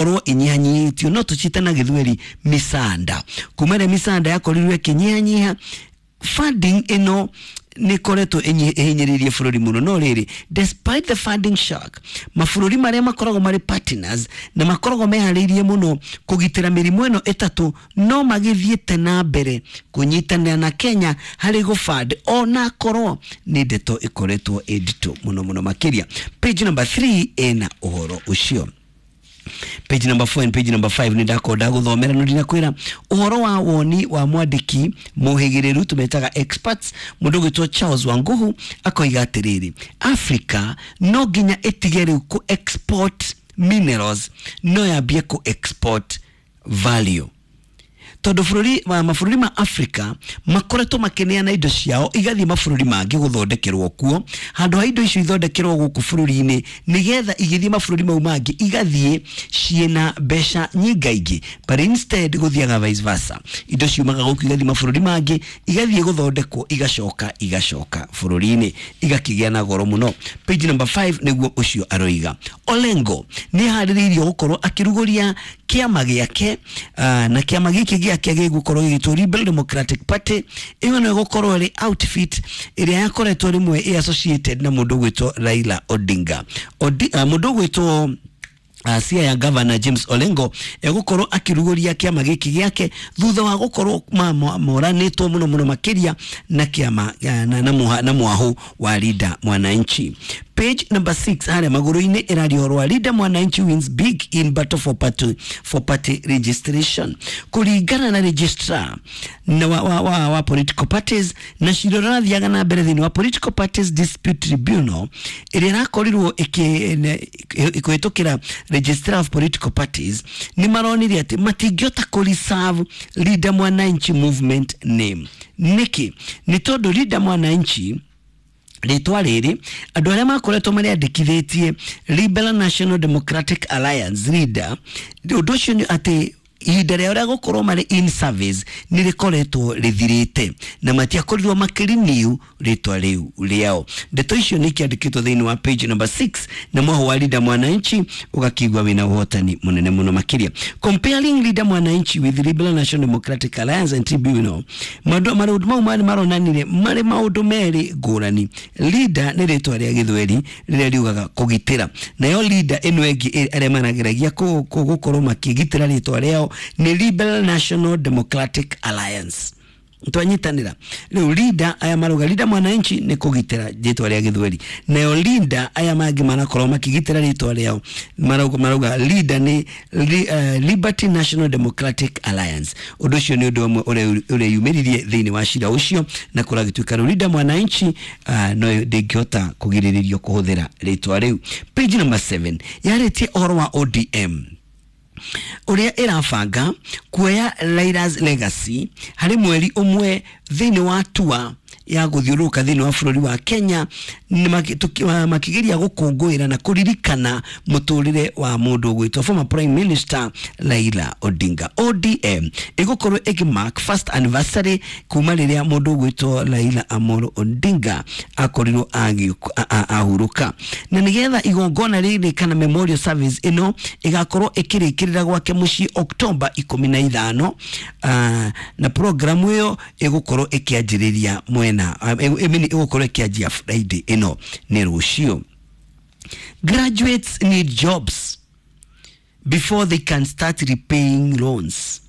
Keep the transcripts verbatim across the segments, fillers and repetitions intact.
Ĩkorwo ĩnyihanyihĩtio, no tũcite na Gĩthweri misanda. Kuma ĩrĩa misanda yakorirwo ĩkĩnyihanyiha, funding ĩno nĩ ĩkoretwo ĩhinyĩrĩirie bũrũri mũno. No rĩrĩ, despite the funding shock, mabũrũri marĩa makoragwo marĩ partners na makoragwo meharĩirie mũno kũgitĩra mĩrimũ ĩno ĩtatũ no magĩthiĩte na mbere kũnyitanĩra na Kenya harĩ gũband, ona korwo nĩ ndeto ĩkoretwo ĩ nditũ mũno mũno makĩria. Page number three ĩna ũhoro ũcio. Page number four and page number five nĩ ndakorwo ndagũthomera, no ndinakwĩra ũhoro wa woni wa mwandĩki mũhĩgĩrĩru tũmetaga experts, mũndũ ũgwĩtwo Charles Wanguhu, akoiga atĩrĩrĩ, Africa no nginya ĩtige rĩu kũ export minerals, no yambie kũ export value, tondũ bũrũri wa mabũrũri ma Africa makoretwo makĩneana indo ciao igathiĩ mabũrũri mangĩ gũthondekerwo kuo, handũ ha indo icio ithondekerwo gũkũ bũrũri-inĩ nĩgetha igĩthiĩ mabũrũri mau mangĩ igathiĩ ciĩna mbeca nyingaingĩ. But instead gũthiaga vice versa, indo ciumaga gũkũ igathiĩ mabũrũri mangĩ, igathiĩ gũthondekwo, igacoka igacoka bũrũri-inĩ igakĩgĩa na goro mũno. Page number five nĩguo ũcio aroiga. Olengo nĩ harĩrĩirio gũkorwo akĩrugũria kĩama gĩake, uh, na kĩama gĩkĩ gĩake gĩgũkorwo gĩgĩtwo Rebel Democratic Party. Ĩyo no ĩgũkorwo ĩrĩ outfit ĩrĩa yakoretwo rĩmwe ĩ associated na mũndũ ũgwĩtwo Raila Odinga. Odi, uh, mũndũ ũgwĩtwo Uh, Siaya Governor James Olengo egũkorwo akĩrugũria kĩama gĩkĩ gĩake thutha wa gũkorwo moranĩtwo mũno mũno makĩria na kĩama na, na, na, na mwahu wa Linda Mwananchi. Page number six harĩa magũrũ-inĩ ĩraria ũhoro wa Linda Mwananchi wins big in battle for party, for party registration. Kũringana na registrar na wa, wa, wa, wa political parties na cira ũrathiaga na mbere thĩinĩ wa Political Parties Dispute Tribunal ĩrĩa ĩrakorirwo ĩkĩhĩtũkĩra registrar of political parties, nĩ maronire atĩ matingĩhota kũ reserve Linda Mwananchi Movement name. Nĩkĩ? Nĩ tondũ Linda Mwananchi rĩtwa rĩrĩ andũ arĩa makoretwo marĩandĩkithĩtie Liberal National Democratic Alliance leader, ũndũ ũcio nĩ atĩ ihinda rĩao rĩa gũkorwo marĩ in service nĩ rĩkoretwo rĩthirĩte na matiakorirwo makĩrenew rĩtwa rĩu rĩao. Ndeto icio nĩ ikĩandĩkĩtwo thĩinĩ wa page number six, na mwaho wa Linda Mwananchi ũgakĩigua wĩna ũhotani mũnene mũno makĩria. Comparing Linda Mwananchi with Liberal National Democratic Alliance and Tribunal, maũndũ mau marĩ maronanire marĩ maũndũ merĩ ngũrani. Linda nĩ rĩtwa rĩa Gĩthweri rĩrĩa riugaga kũgitĩra, nayo Linda ĩno ĩngĩ arĩa marageragia gũkorwo makĩgitĩra rĩtwa rĩao nĩ Liberal National Democratic Alliance. Twanyitanĩra rĩu Linda aya marauga Linda Mwananchi nĩ kũgitĩra rĩtwa rĩa Gĩthweri, nayo Linda aya mangĩ marakorwo makĩgitĩra rĩtwa rĩao marauga, marauga Linda nĩ li, uh, Liberty National Democratic Alliance. Ũndũ ũcio nĩ ũndũ ũmwe ũreyumĩririe thĩinĩ wa cira ũcio, na kũragĩtuĩka rĩu Linda Mwananchi uh, no ndĩngĩhota kũgirĩrĩrio kũhũthĩra rĩtwa rĩu. Page number seven yarĩtie ũhoro wa O D M ũrĩa ĩrabanga kuoya Raila's Legacy harĩ mweri ũmwe thĩinĩ wa tua ya gũthiũrũrũka thĩinĩ wa bũrũri wa Kenya, makĩgeria gũkũngũĩra na kũririkana mũtũrĩre wa mũndũ ũgwĩtwo former Prime Minister Raila Odinga. O D M ĩgũkorwo ĩkĩmark first anniversary kuma rĩrĩa mũndũ ũgwĩtwo Raila Amolo Odinga akorirwo ahurũka, na nĩgetha igongona rĩrĩ kana memorial service ĩno ĩgakorwo ĩkĩrĩkĩrĩra gwake mũciĩ Oktoba ikũmi na ithano, uh, na programu ĩyo ĩgũkorwo ĩkĩanjĩrĩria mwena ĩmini ĩgũkorwo ĩkĩanjia Friday ĩno nĩ rũciũ. Graduates need jobs before they can start repaying loans.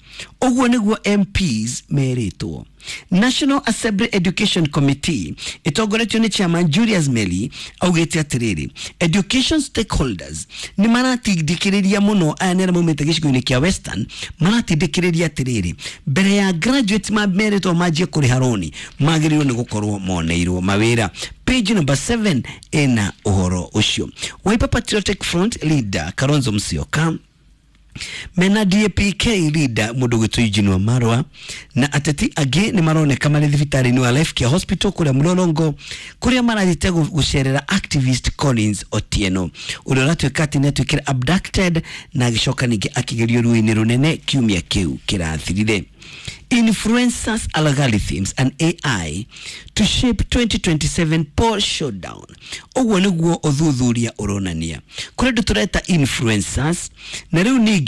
Ũguo nĩguo M Ps merĩtwo. National Assembly Education Committee ĩtongoretio nĩ Chairman Julius Meli augĩte atĩrĩrĩ, education stakeholders nĩ maratindĩkĩrĩria mũno, aya nĩ arĩa maumĩte gĩcigo-inĩ kĩa Western, maratindĩkĩrĩria atĩrĩrĩ, mbere ya graduates merĩtwo manjie kũrĩha roni magĩrĩirwo nĩ gũkorwo moneirwo mawĩra. Page number seven ĩna ũhoro ũcio. Wiper Patriotic Front leader Kalonzo Musyoka mena D A P K leader mũndũ gwĩtwo Eugene Wamalwa na ateti angĩ nĩ maroneka marĩ thibitarĩ-inĩ wa Life Care Hospital kũrĩa Mlolongo, kũrĩa marathiĩte gũcerera activist Collins Otieno ũrĩa ũratuĩka atĩ nĩatuĩkire abducted na agĩcoka ningĩ akĩgerio ruĩ-inĩ rũnene kiumia kĩu kĩrathirire. Influencers, algorithms and A I to shape twenty twenty-seven poll showdown. Ũguo nĩguo ũthuthuria ũronania. Kũrĩ andũ tũreta influencers na rĩu ningĩ